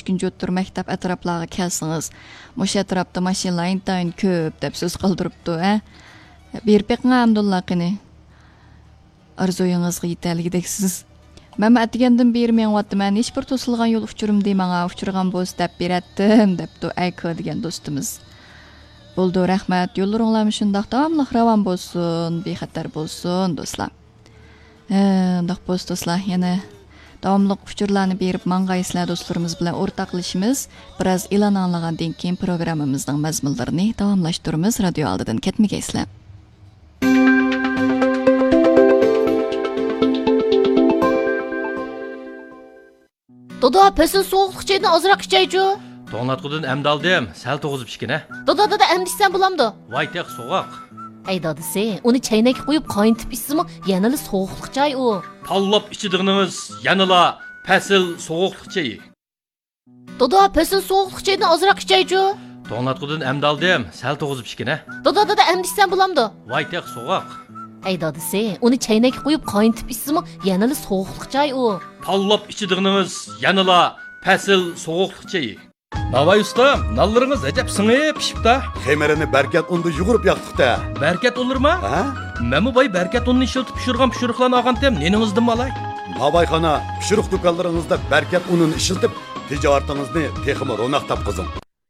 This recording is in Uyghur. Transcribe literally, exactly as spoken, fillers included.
ئۈچىنچى ئوتتۇرا مەكتەپ ئەتراپلارغا كەلسىڭىز، مۇشۇ ئەتراپتا ماشىنىلار ئىنتايىن كۆپ دەپ سۆز قالدۇرۇپتۇ، ھە؟ بېرىپ بېقىڭ ئەمدىلا قېنى. ئارزۇيىڭىزغا يېتەلىگۈدەكسىز. مەنمۇ ئەتىگەندىن بېرى مېڭىۋاتىمەن، ھېچبىر توسۇلغان يول ئۇچۇرۇمدى، ماڭا ئۇچرىغان بولسا دەپ بېرەتتىم، دەپتۇ ئەيكو دېگەن دوستىمىز. بولىدۇ، رەھمەت، يوللىرىڭلارمۇ شۇنداق داۋاملىق راۋان بولسۇن، بىخەتەر بولسۇن، دوستلار. ھە، ئۇنداق بولسا، دوستلار، يەنە داۋاملىق ئۇچۇرلارنى بېرىپ ماڭغايسىلەر، دوستلىرىمىز بىلەن ئورتاقلىشىمىز. بىراز ئېلان ئاڭلىغاندىن كېيىن پروگراممىمىزنىڭ مەزمۇنلىرىنى داۋاملاشتۇرىمىز، رادىيو ئالدىدىن كەتمىگەيسىلەر. دادا، پەسىل سوغۇقلۇق چايدىن ئازراق ئىچەيچۇ. توڭلاتقۇدىن ئەمدى ئالدىم، سەل توغۇزۇپ ئىچكىنە. دادا، دادا، ئەمدى ئىچسەم بولامدۇ؟ ۋاي، تېخى سوغۇق. ئەي دادىسى، ئۇنى چەينەككە قويۇپ قاينىتىپ ئىچسىمۇ يەنىلا سوغۇقلۇق چاي ئۇ. تاللاپ ئىچىدىغىنىڭىز يەنىلا پەسىل سوغۇقلۇق چېيى. دادا، پەسىل سوغۇقلۇق چايدىن ئازراق ئىچەيچۇ. توڭلاتقۇدىن ئەمدى ئالدىم، سەل توغۇزۇپ ئىچكىنە. دادا، دادا، ئەمدى ئىچسەم بولامدۇ؟ ۋاي، تېخى سوغۇق. ئەي دادىسى، ئۇنى چەينەككە قويۇپ قاينىتىپ ئىچسىمۇ يەنىلا سوغۇقلۇق چاي ئۇ. تاللاپ ئىچىدىغىنىڭىز يەنىلا پەسىل سوغۇقلۇق چېيى. ناۋاي ئۇستام، نانلىرىڭىز ئەجەب سىڭىپ پىشىپتا. خېمىرىنى بەركەت ئۇندا يۇغۇرۇپ ياقتۇق-تە. بەركەت ئۇنلىرىما؟ ھە؟ مەنمۇ باي بەركەت ئۇنىنى ئىشلىتىپ پىشۇرغان پىشۇرۇقلارنى ئالغانتىم، نېنىڭىزدىنمۇ ئالاي؟ ناۋايخانا، پىشۇرۇق دۇكانلىرىڭىزدا بەركەت ئۇنىنى ئىشلىتىپ، تىجارىتىڭىزنى تېخىمۇ روناق تاپقۇزۇڭ.